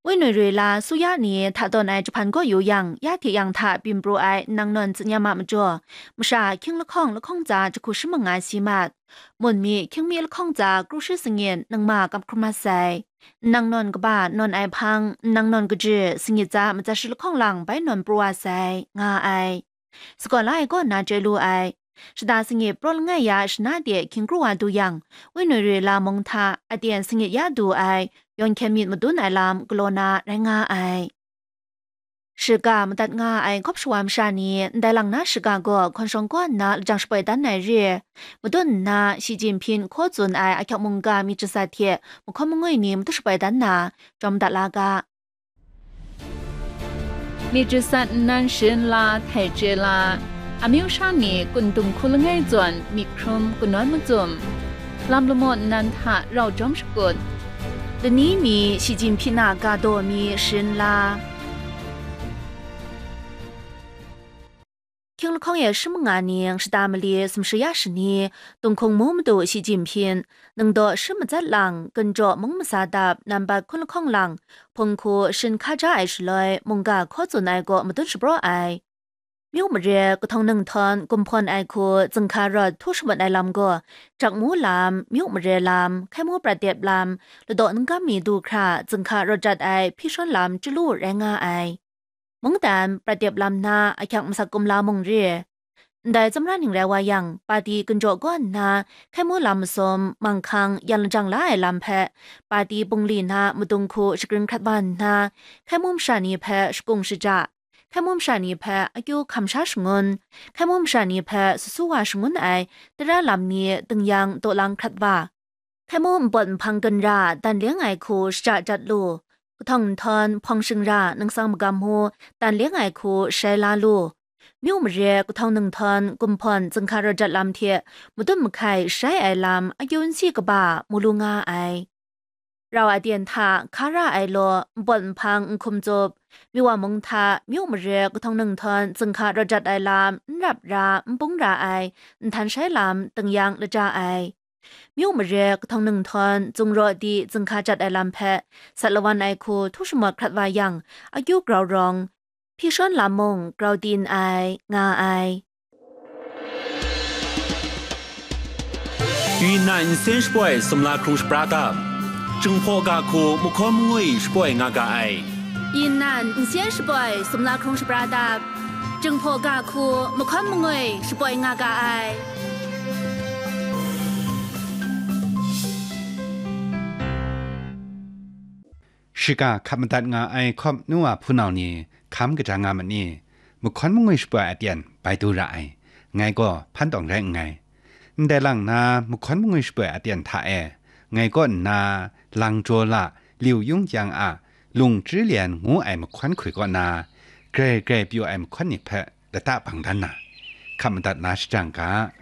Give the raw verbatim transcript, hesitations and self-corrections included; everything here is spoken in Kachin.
Wenoi roi la su ya ni hta tawn ai jahpan gaw yu yang, ya hte yang hta byin pru ai nang nawn tsinyam a majaw, masha hkying lahkawng lahkawng tsa jahku shi manga si mat. Mun mi hkying mi lahkawng tsa kru shi sangit nang ma kap hkrum mat sai. Nang nawn kaba nawn ai hpang, nang nawn kaji sangit tsa matsat shi lahkawng lang bai nawn pru wa sai, nga ai. Sagaw la ai kaw nna chye lu ai. Shada sangit praw langai ya shana de hkying kru wa du yang, wenoi roi la mung hta aten sangit ya du ai, yawn hkyen myit madun ai lam galaw na rai nga ai. Shiga madat nga ai hkawp shawa masha ni ndai lang na shiga gaw hkawn shawng kaw nna lajang shapoi dan ai re. Madun nna Shi Jinping hkaw tsun ai ahkyak mungga myit jasat hte mahkawn mangwi ni madu shapoi dan na, jawm dat la ga. Myit jasat nnan sharin la, htai chye la, amyu sha ni kun dung hku langai zawn myit hkrum kanawn macum, lam lamaw nnan hta rau jawm shakut, lani mi Shi Jinping a ga daw mi sharin la. Hkying lahkawng e shi manga ning shada mali sumshi ya shani, Tunghkung mu madu Shi Jinping, nang daw shi matsat lang, gunjaw mung masa dap, nambat hkun lahkawng lang, hpung hku shin hka ja ai shaloi, mungga hkaw tsun ai kaw madun shapraw ai. Myu mare, kahtawng nang htawn gumhpawn ai hku, zinghka rawt htu shamut ai lam gaw, Jakmu lam, Myu mare lam, Hkai mu prat dep lam, ladaw ningkam mi du hkra, zinghka rawt jat ai hpyi shawn lam chyalu rai nga ai. Mungdan prat dep lam na ahkyak masak kumla mung re. Ndai tsawmra ning rai wa yang, pati gunjaw kaw nna, Hkai mu lam masum, manghkang, yan lajang la ai lam hpe, pati bungli na madung hku shagrin hkrat wa nna, Hkai mu masha ni hpe shakung shaja, Hkai mu masha ni hpe akyu hkam sha shangun, Hkai mu masha ni hpe susu wa shangun ai tara lam ni dingyang daw lang hkrat wa, Hkai mu npawt nhpang gunra dan leng ai hku shaja jat lu, kahtawng nhtawm hpawng shingra nangsang magam mu dan leng ai hku shai la lu, Myu mare kahtawng nang htawn gumhpawn zinghka rawt jat lam hte madun mahkai shai ai lam akyu n si kaba mu lu nga ai. Rau aten hta hka ra ai law, npawt nhpang nhkum tsup, Myu wa mung hta Myu mare kahtawng nang htawn zinghka rawt jat ai lam n rap ra, n bung ra ai, nhtan shai lam dingyang laja ai. Myu mare kahtawng nang htawn zungraw di zinghka jat ai lam hpe sat lawan ai hku htu shamawt hkrat wa yang, akyu grau rawng, hpyi shawn lam mung grau tin ai, nga ai. 云南先 shapoi sumla hkrung shapra dap, Jinghpaw ga hku mahkawn mangwi shapoi nga ga ai. 云南先 shapoi sumla hkrung shapra dap, Jinghpaw ga hku mahkawn mangwi shapoi nga ga ai. Shiga hkap madat nga ai hkawp nu wa hpunau ni hkam kaja nga ma ni? Mahkawn mangwi shapoi aten bai du ra ai, ngai gaw hpan tawng rai nngai. Ndai lang na mahkawn mangwi shapoi aten hta e, ngai kaw nna lang jaw la, liu yung yang a, lung chri lian ngu ai mahkawn hkui kaw na, grai grai pyaw ai mahkawn ni hpe lata bang dan na, hkap madat na shajang ga.